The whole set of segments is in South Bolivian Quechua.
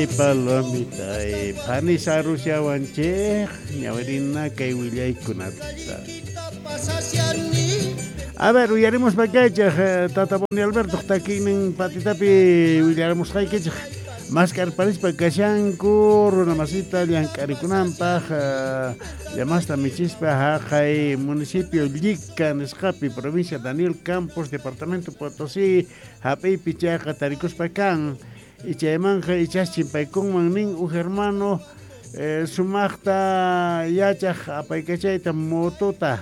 Palomita, phanisa rushawanchej ñawirina kay willaykunata. A ver, uyarimuspa kaychej Tata Boni Alberto takiynin patitapi willaramusqaykichej maskarparispa kashanku runa masita llank'arikunanpaj llamasta michispa haqay municipio Llica nisqapi provincia Daniel Campos departamento Potosí hap'iypi chayqa tarikuspa kan y chaymanja ichas chimpaykunman nin uj hermano sumaqta yachaj apaykachayta motota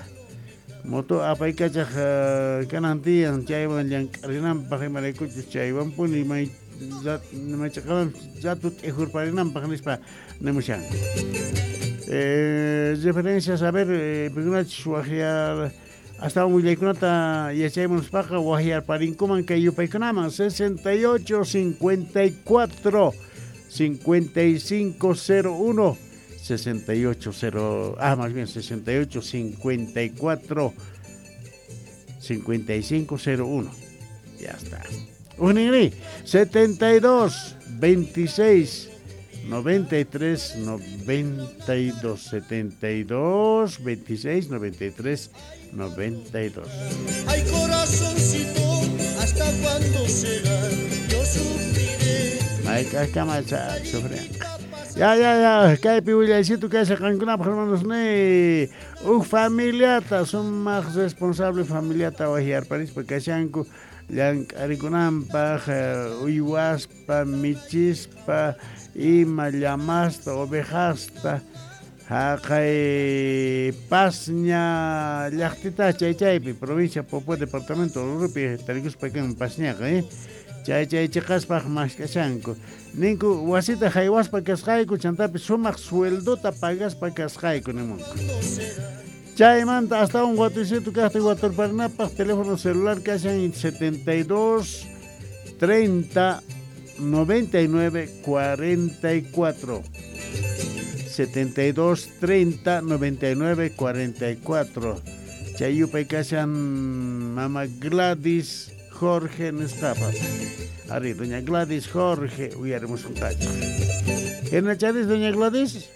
moto apaykachaj kanan tiyan chaywan llank'arinanpaj imaraykuchus chaywanpuni may maychaqaman rato t'ijurparinanpaj nispa nimushanku. Referencias a ver pikunachus waqyar astawan willaykunata yachaymunuspaqa waqyarparinkuman kay yupaykunaman 68 54 55 01 68 0 más bien 68 54 55 01. Ya está. Unigri 72 26 93 92 72 26 93 92. Ay, corazoncito, hasta cuando será, yo sufriré. Ay, kama sufrir. Ya, ya, ya, kaypi willaysitu kasha qankunapaq hermanos ni uj familiata sumaq responsable familiata waqyarparispa kashanku llank'arikunanpaq uywaspa michispa ima llamasta ovejasta haqay Pasña llaqtita chay chaypi provincia Popo departamento Oruropi tarikuspa kan Pasñaqa chay chay chiqaspaq mask'ashanku ninku wasita haywaspa kasqayku chantapis sumaq sueldota pagaspa kasqayku nimunku. Chaymanta astawan watuysitu kaqta waturparinapaq teléfono celular kashan 72 30 99 44 72 30 99 44 Chay yupay kashan mama Gladys Jorge nisqapa. Ari, doña Gladys Jorge uyarimusunqachej. ¿Hinacharis doña Gladys?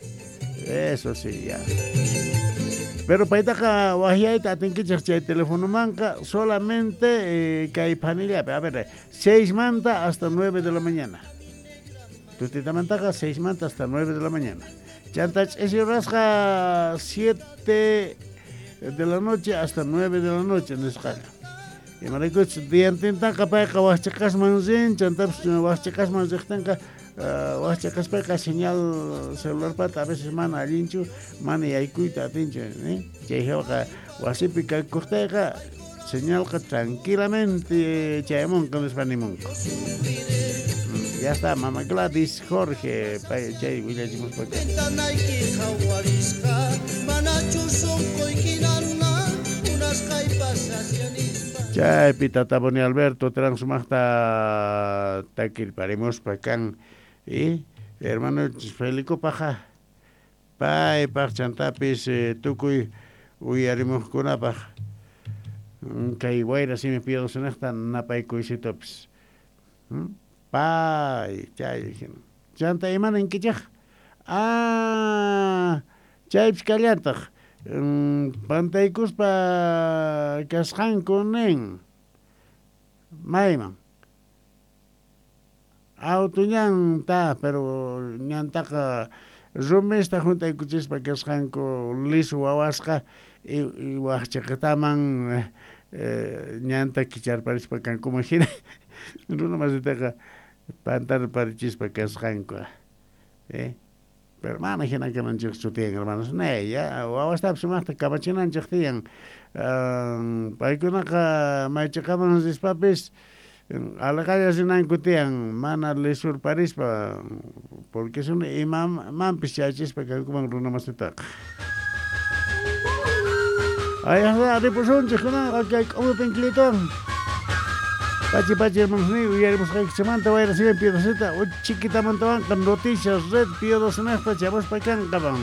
Eso sí, ya. Pero paytaqa waqyayta atinkichej chay telefonomanqa solamente kay phanillapi. A ver, 6 manta hasta 9 de la mañana. Tutitamantaqa 6 manta hasta 9 de la mañana. Chanta ch'isi rasqa 7 de la noche hasta 9 de la noche nisqaqa. Imaraykuchus diantintaqa payqa waqchiqasman rin, chantapis waqchiqasman riqtinqa waqchiqaspayqa señal celularpata a veces mana allinchu, mana yaykuyta atinchu, chay hawaqa wasipi kakuqtayqa señalqa tranquilamente chayamunqa nispa nimunku. Ya está, mama Gladys Jorge, chay willachimuspa. Chaypi Tata Boni Alberto Terán sumaqta takirparimuspa kan y hermano Felicopajqa paypaq chantapis tukuy uyarimuqkunapaq kay wayra simi piyadusunaqta napaykuysitupis. Pay chay chanta imaninkichej chaypis kallantaq pantaykuspa kasqanku nin mayman auto ñanta pero ñantaqa rumista juntaykuchispa kasqanku lisu wawasqa y waqchiqitaman ñanta kicharparispa kankuman hina runa masitaqa pantarparichispa kasqanku Pero mana hina kananchikchu tiyan hermanos ne ya wawastapis sumaqta kamachinanchik tiyan paykunaqa maychiqaman rispapis alaqalla rinanku tiyan mana lisurparispa porque sino imamanpis chayachispa kankuman runa masitaqa. Ay, ripusunchik kunanqa kay k'umupin clitón. Pachi pachi hermanos ni uyarimusqaykichikmanta wayra simi piedosita uchikitamantawanqa noticias red piedosnaqta chamuspa kanqaman.